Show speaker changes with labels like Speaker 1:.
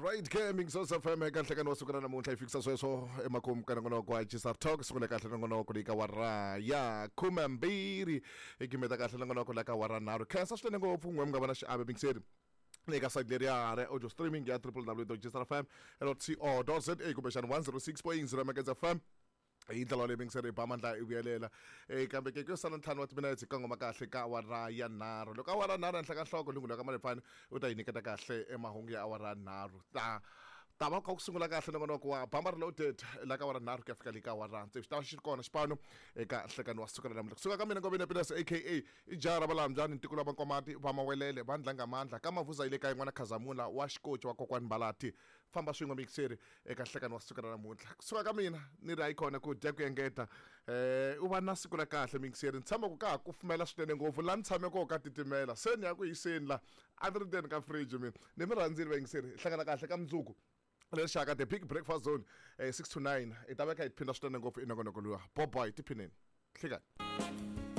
Speaker 1: Right ke Mingsosa FM eka nhlekani wa siku ra namuntlha yi fikisa sweswo emakumu ka nongonoko wa Gisar Talk sungule kahle nongonoko leyi ka wara ya 12 hi gimeta kahle nongonoko la ka wara nharhu. Khensa swinene ngopfu n'we mi nga va na xiave mingiseri le ka site leriya ra audio streaming ya www.gisarfm.co.za kumbexana 106.0 Megahertz FM. Hi ndlela waleyo mingiseri hi ba mandla hi vuyelela. Kambe ke ku yo sala ntlhanu wa timinetse hi kongoma kahle ka awara ya nharhu. Loko awara nharhu henhla ka nhloko lunghelo ka Malefani u ta yi nyiketa kahle emahungu ya awara nharhu. Ta ta va kha ku sungula kahle nongonoko wa Bamba Reloaded la ka awara nharhu ku ya fika le ka awara tsevu. Xi ta va xi ri kona xipano eka nhlekani wa siku ra namuntlha. Kusuka ka mina Ngoveni Happiness aka i jaha ra Valambyani ntiko la Vankomati va Mawelele va Ndlangamandla ka Mavuza yi le kaya n'wana Khazamula wa Xikoci wa kokwani Mbalati. Famba swin'we mixeri eka nhlekani wa siku ra namuntlha. Kusuka ka mina ni ri hayikhona ku dya ku engeta. U va na siku ra kahle mixeri. Ni tshama ku ka ha kufumela swinene ngopfu laha ni tshame kona ka titimela. Se ni ya ku hiseni la a ni ri ndzeni ka fridge mina. Ni mi rhandzile vayingiseri. Hi hlangana kahle ka mundzuku leri xaka The Big Breakfast Zone 6 to 9. Hi ta va kha hi phinda swinene ngopfu i nongonoko luwa. Boboy tiphineni. Nhlikani.